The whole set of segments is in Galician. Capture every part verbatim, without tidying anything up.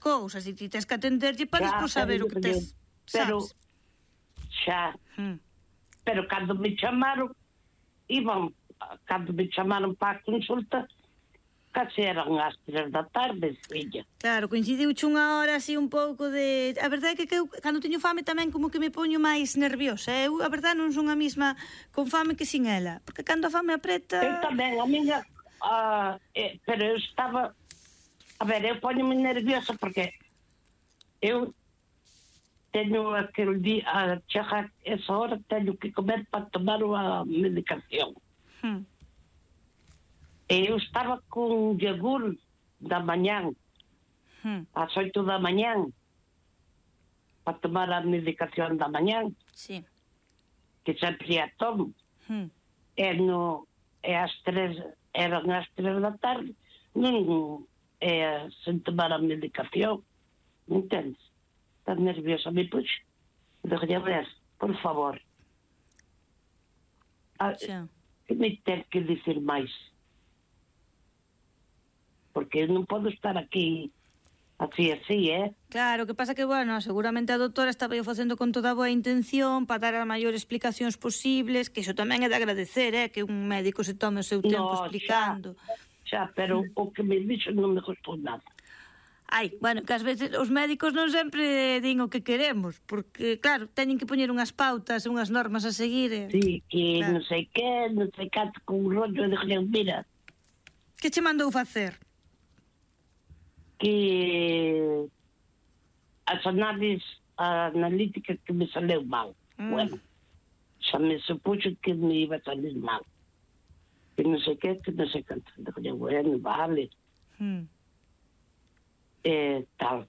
cousas e ti tens que atenderlle para despois saber o que tes, pero, sabes? Xa, Hmm. pero cando me chamaron, iban, cando me chamaron para a consulta, casi eran as tres da tarde, filla. Claro, coincidiuche unha hora así un pouco de... A verdade é que, que eu, cando teño fame tamén como que me poño máis nerviosa. Eu, a verdade, non son a mesma con fame que sin ela. Porque cando a fame apreta... Eu tamén, a miña... Uh, eh, pero eu estaba... A ver, eu poño-me nerviosa porque eu teño aquel día, a chega esa hora, teño que comer para tomar a medicación. Hmm. E eu estaba con yogur da mañán, Hmm. ás oito da mañán, para tomar a medicación da mañán, Sí. que sempre a tomo. Hmm. E, no, e as tres, eran as tres da tarde, non é sen tomar a medicación, entendes? Estás nerviosa, me puxo. Dejé ver, por favor. Ah, Xa. que me ten que dicir máis? Porque eu non podo estar aquí así, así, eh? Claro, o que pasa que, bueno, seguramente a doutora estaba eu facendo con toda a boa intención para dar as maiores explicacións posibles, que iso tamén é de agradecer, eh, que un médico se tome o seu tempo No, explicando. Xa, xa, pero mm. o que me dixo non me gostou nada. Ai, bueno, que ás veces os médicos non sempre din o que queremos, porque, claro, teñen que poñer unhas pautas, unhas normas a seguir. E... Sí, que claro. non sei que, non sei canto, con un rollo de que, mira... Que che mandou facer? Que as análises analíticas que me saleu mal. Mm. Bueno, xa me supuxo que me iba a salir mal. Que non sei que, que non sei canto. Dije, bueno, vale. Mm. E tal.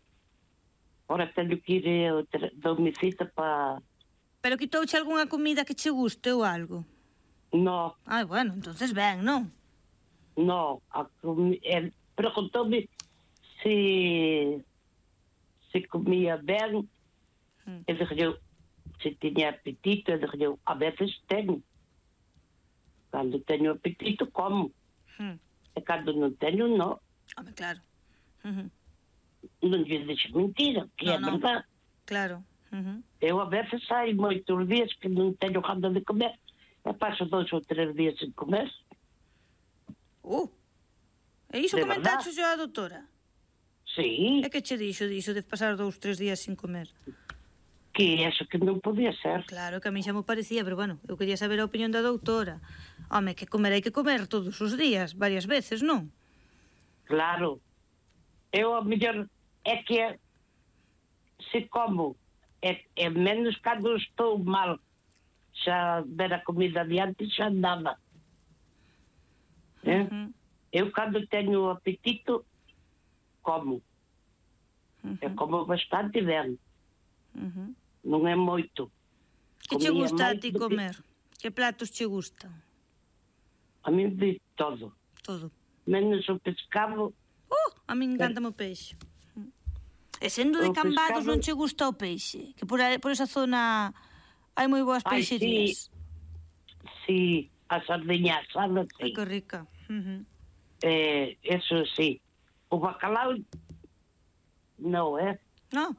Ora teño que ir a doume cita para... Pero quitouche algunha comida que che guste ou algo? No. Ai, bueno, entonces ben, non? No, a comi... el preguntoume se se comía ben, mm. e dije eu, se tiña apetito, e dije eu, a veces teño. Cando teño apetito, como. Mm. E cando non teño, non. Home, claro. Uh-huh. Non lle dixo mentira, que no, é no. verdade. Claro. Uh-huh. Eu a veces hai moitos días que non teño gana de comer, e paso dois ou tres días sen comer. Uh, e iso comentaxe a doutora? Sí. E que che dixo diso de pasar dous, tres días sin comer? Que eso que non podía ser. Claro, que a mí xa me parecía, pero bueno, eu quería saber a opinión da doutora. Home, que comer hai que comer todos os días, varias veces, non? Claro. Eu a mellor é que se como é, é menos cando estou mal, xa ver a comida adiante xa andaba. Eh? Uh-huh. Eu cando teño apetito como. Uh-huh. E como bastante ben. Uh-huh. Non é moito. Que che gusta a ti comer? Que... que platos che gustan? A mí de todo. Todo. Menos o pescado. Oh, a mí encanta o peixe. E sendo de Cambados pescado... non che gusta o peixe? Que por, a, por esa zona hai moi boas peixerías. Sí, sí, a sardiña asada, sí. Ai, que rica. Uh-huh. Eh, eso sí. O bacalao, non, eh? Non?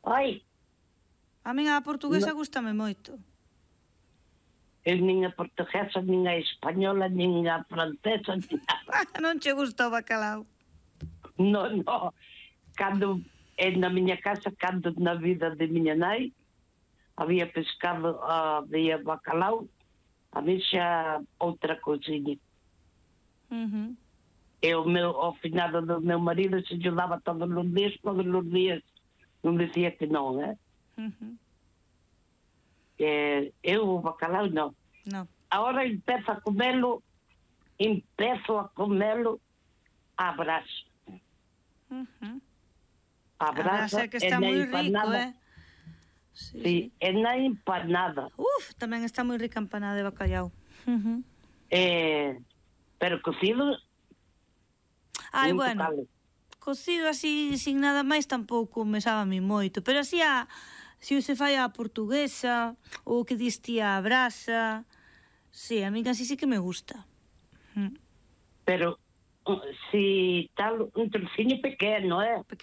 Ai. A min a portuguesa no. gustame moito. Eu nin a portuguesa, nin a española, nin a francesa, nin a... Non che gusta o bacalao? Non, non. Cando, na miña casa, cando na vida de miña nai, había pescado, uh, había bacalao, a mí xa outra cousinha. Uh-huh. E o meu, ao finado do meu marido se ajudaba todos os días, todos os días. Non dicía que non, eh? Uh-huh. Eh, eu o bacalao non. No. Agora empezo a comelo, empezo a comelo a brasa. Uh-huh. A brasa, a brasa que está moi rico, eh? Sí, sí, é na empanada. Uf, tamén está moi rica empanada de bacalhau. Uh-huh. Eh, pero cocido... Ai, bueno, tocale. Cocido así, sin nada máis, tampouco me sabe a mí moito. Pero así, a, se se fai a portuguesa, ou que diste a brasa... Sí, a mí así sí que me gusta. Pero, si tal, un trociño pequeno, eh? Pequeno.